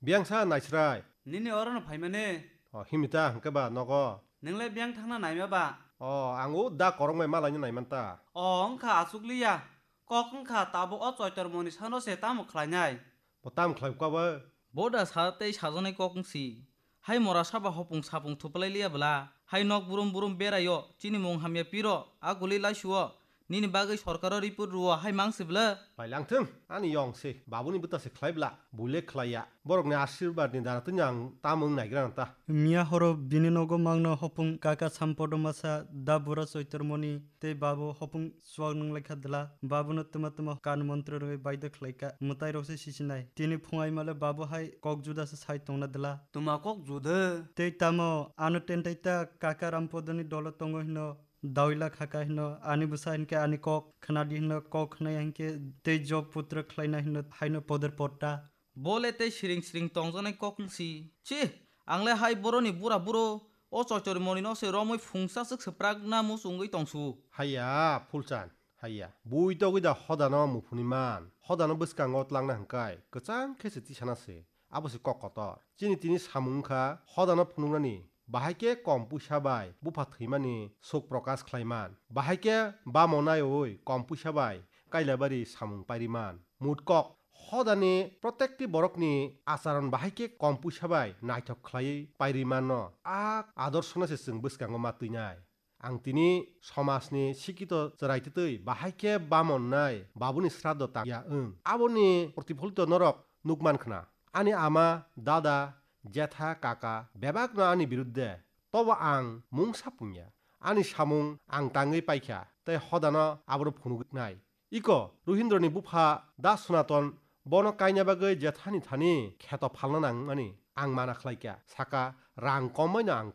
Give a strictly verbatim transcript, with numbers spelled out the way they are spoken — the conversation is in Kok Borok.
Biyang sa naisrai. Nini oro no phaimani? O, himita hwnkhe ba nogo? Nwngle biyang thangna naima ba? O, ang o da korokmai malaino naimanta. O, wngkha achukliya. Kok wngkha tabuk o Choitormoni sano se tamo khlainai? Bo tamo khlai kha ba? Bo da sa tei sajaknai kok wngsi. Hai mora saba hopung sapung thuplai liya bwla. Hai nok burum burum beraio, chini mung hamya piro, a guli laisuo. Nini bagwi sorkaro report ruo hai mang se bwla? Pailang thung, ani yong se, babuni bwta se khlai bwla, buile khlai ya. Borokni ashirbad ni dara tini ang tamo wng naigra ta. Miya horo bini nogo mangno hopung kaka Sampodo masa da bura Choitormoni tei babu hopung chuak nung lai kha dwla. Babuno twma twma kan montro rwui baidhyo khlai kha, mwtai rok se sisinai. Tini phung ai male babu hai kok juda se sai tongna dwla. Twma kok juda? Tei tamo ano tentai ta kaka Rampodoni dolo tongo hino. Dawila khaka hino, ani bwsa hinkhe ani kok khwnadi hino, kok khwnaya hinkhe tei job putra khlaina hino, haino poder potta. Bo le tei siring siring tongjaknai kok wngsi. Chi, ang le hai boroni bura buro, o Choitormoni no se romwi phungsa swk swprak na muchungwi tongsu. Haiya, Phulchan, haiya. Bui togwi da hodano muphuni man, hodano bwskango tlangna hwnkhe kwchang khe se tisana se. Abo se kok kotor. Chini tini samung wngkha hodano phunuknani. Bahai khe kom puisa bai bupha thwimani suk prokash khlaiman. Bahai khe bamo naiwi kom puisa bai Kailabari samung pairiman. Mut kok, hodani protekti borokni acharon bahai khe kom puisa bai naithok khlaiwi pairimanno. A adorshono se chwng bwskango ma twinai. Ang tini somajni sikito chwrai twtwi bahai khe bamonnai babuni sraddho tangya wng. Aboni protipholito norok nukman khna. Ani ama, dada, jetha, kaka bebakno ani birudde. Tobo ang mungsa pungya. Ani samung ang tangwi paikha, tei hodano abono phunuknai. Iko, Ruhindroni bupha Da Sonaton bono kaina bagwi jethani thani kheto phalna nangmani ang mana khlaikha, saka rang kommaino ang